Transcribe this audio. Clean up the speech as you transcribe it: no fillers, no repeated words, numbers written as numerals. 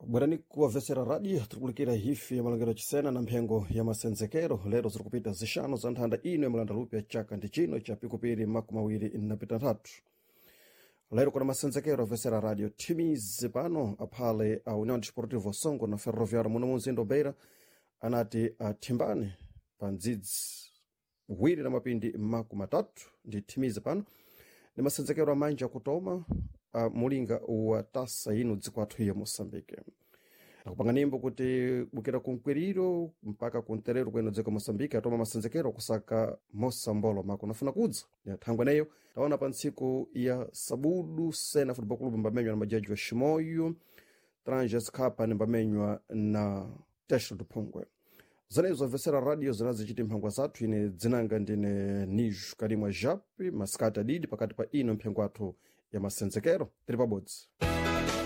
Bwerani kuwavesera radio tikulikira hifi ya malangiro chisena na mphengo ya masenzekero. Lero zirikupita zixanu za nthanda ino ya malanda lupya chaka ndi chino cha pikupiri 23. Lero kuna masenzekero avesera radio timizi pano aphale a União Desportivo Songo na Ferroviário muno mu Beira anati athimbane pa ndzidzi wiri na mapindi 30 ndi thimizi pano ni masenzekero amanja kutoma a mulinga wa tasa ino dziko athu ya Moçambique. Nakupanga nimbo kuti bukira kunkwiriro mpaka kunterero kweno dziko Moçambique atoma masenzekero kusaka mosambolo mako nafuna kudza ya thangwe neyo taona pa ntsiku ya sabudu Sena Football Club mbamenywa na majaji wa Shimoyo Tranges Cup ni mbamenywa na Tesho Duphongwe. Zanezo vesera radio zinazichiti mphangwa zathu. Ine dzinanga ndine Nijo Karimwa Japi masikati adidi pakati pa ino mphengo athu ya masenzekero tili pabodzi.